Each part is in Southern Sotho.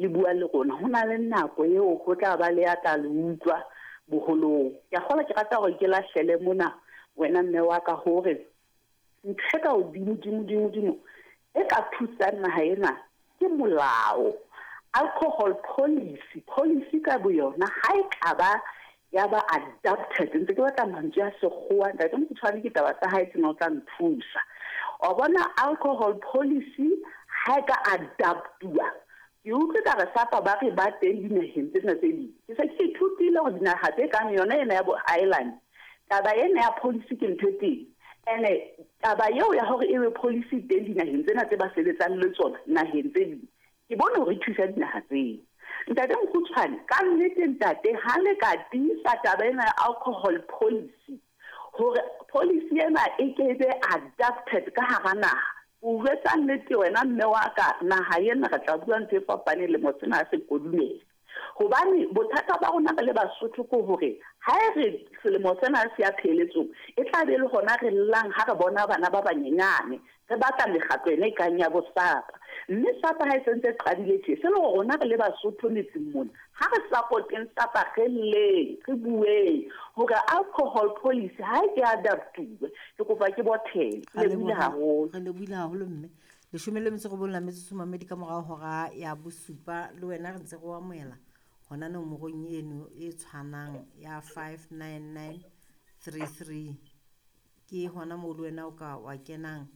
Le bua le rona. Ho na le nako eo ho tla ba le ya tla le utlwa boholong. Ke a kgolwa ke rata hore ke lahlele mona wena mme wa ka hore ntho e ka hodimo dimo dimo dimo e ka thusang naha ena ke molao. Alcohol policy, policy ka boyona ha e ka ba ya ba adapted, ntse ke batla mantswe a sekgowa ntate Mokgutshwane ke taba tsa hae tsena o tla nthusa. Wa bona alcohol policy ha e ka adaptuwa, ke utlwe ka re SAPA ba re ba teng dinaheng tsena tse ding. Ke se ke ithutile hore dinaha tse kang yona ena ya bo Ireland, taba ena ya policy ke ntho e teng. Ene taba eo ya hore ebe policy e teng dinaheng tsena tse ba sebetsang le tsona naheng tse ding, ke bone hore e thusa dinaha tseo. Ntate Mokgutshwane, ka nnete ntate ha le ka tiisa taba ena ya alcohol policy, hore policy ena e ke be adapted ka hara naha. O jwetsa nnete wena mme wa ka, naha ena re tla bua ntho e fapaneng lemo sena ha se kodumela. Hobane bothata ba rona re le Basotho ke hore ha e re selemo sena se ya pheletsong, e tla be le hona re llang ha re bona bana ba banyenyane re batla mekgatlo ena e kang ya bo SAPA. Mme SAPA ha e sentse e qadile tje, se le hore rona re le Basotho metseng mona, ha re supporteng SAPA re lleng, re bueng hore alcohol policy ha e ke adaptuwe. Ke kopa ke bothele. Ke lebohile haholo. Re lebohile haholo mme. Leshome le metso robong la metsotso mamedi ka morao hora ya bosupa le wena re ntse re o amohela hona nomorong eno e tshwanang ya 59933 ke hona moo le wena o ka wa kenang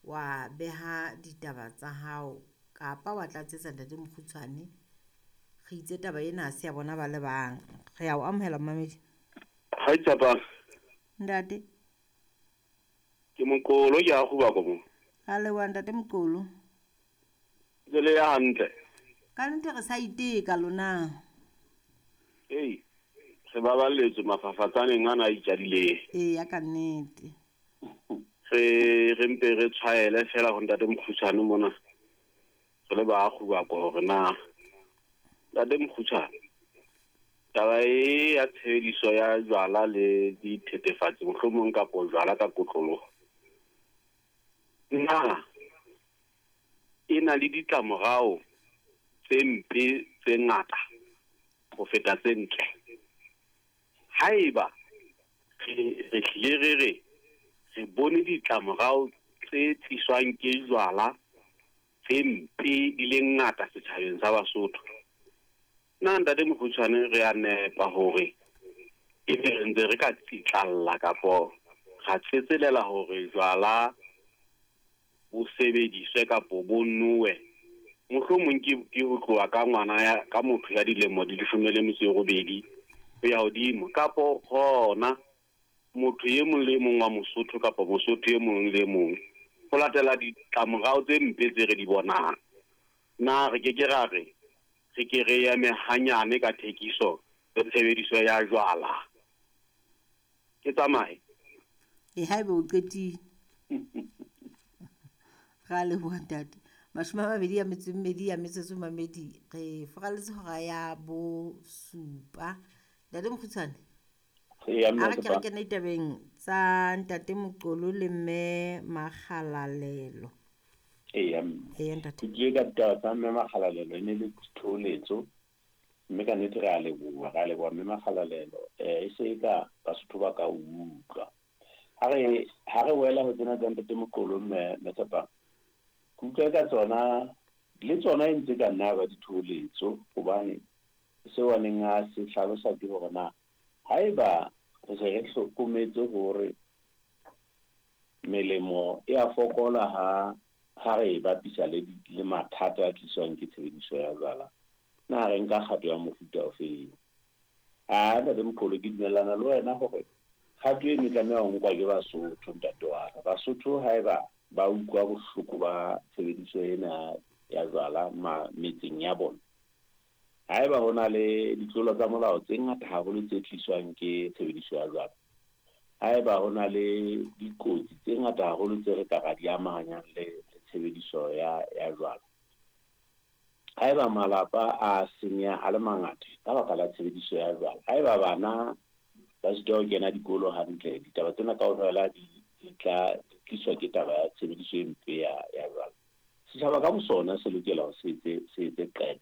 wa beha ditaba tsa hao kapa wa tlatsetsa ntate Mokgutshwane. Re itse taba ena ha se ya bona ba le bang. Re ya o amohela momamedi. Ha itshepang. Ntate. Ke Moqolo ke a kgubako mo. Ra leboha ntate Moqolo. Ntse le ya hantle. Ka nnete re sa iteka lona. Ei, re baballetswe mafafatsaneng ana a itjadileng. Eya ka nnete. Re re mpe re tshwaele fela ho ntate Mokgutshwane mona. Re le ba kgubako hore na ntate Mokgutshwane taba e ya tshebediso ya jwala le dithethefatsi mohlomong kapo jwala ka kotloloho na e na le ditlamorao tse mpe tse ngata ho feta tse ntle? Haeba re re hlile re re re bone ditlamorao tse tliswang ke jwala tse mpe di le ngata setjhabeng sa Basotho, na ntate Mokgutshwane re a nepa hore ebe re ntse re ka tsitlalla kapo ra tsetselela hore jwala bo sebediswe kapo bo nowe? Mohlomong ke ke ho tloha ka ngwana ya ka motho ya dilemo di leshome le metso e robedi ho ya hodimo, kapo hona motho e mong le e mong wa Mosotho kapa Mosotho e mong le e mong ho latela ditlamorao tse mpe tse re di bonang. Na re ke ke ra re re ke re eme hanyane ka thekiso le tshebediso ya jwala? Ke tsamaye. E haebe o qetile. Ra leboha ntate. 22 ya metsotso mamedi re foraletse hora ya bosupa. Ntate Mokgutshwane. Eya A mme re ke re Tshepang. kene ditabeng tsa ntate Moqolo le mme Makgalalelo. Eya mme. Eya ntate. Ke tlile ka ditaba tsa mme Makgalalelo e ne le thoholetso mme ka nnete re a leboha, re a leboha mme Makgalalelo. E se e ka Basotho ba ka utlwa. Ha re ha re wela ho tsena tsa ntate Moqolo mme mme Tshepang. Ke utlwa ka tsona le tsona e ntse ka nna ba dithoholetso hobane seo a neng a se hlalosa ke hore na haeba re se re hlokometse hore melemo e a fokola ha ha re e bapisa le le mathata a tliswang ke tshebediso ya jwala, na re nka kgato ya mofuta ofeng? A ntate Moqolo ke dumellana le wena hore kgato eno e tlameha ho nkwa ke Basotho ntate wa ka. Basotho haeba ba utlwa bohloko ba tshebediso ena ya jwala metseng ya bona, haeba ho na le ditlolo tsa molao tse ngata haholo tse tliswang ke tshebediso ya jwala, haeba ho na le dikotsi tse ngata haholo tse re ka ra di amahanyang le tshebediso ya ya jwala, haeba malapa a senyeha a le mangata ka baka la tshebediso ya jwala, haeba bana ba sitwa ho kena dikolo hantle, ditaba tsena kaofela di di tla di tliswa ke taba ya tshebediso e mpe ya ya jwala. Setjhaba ka bosona se lokela hore se etse se etse qeto ya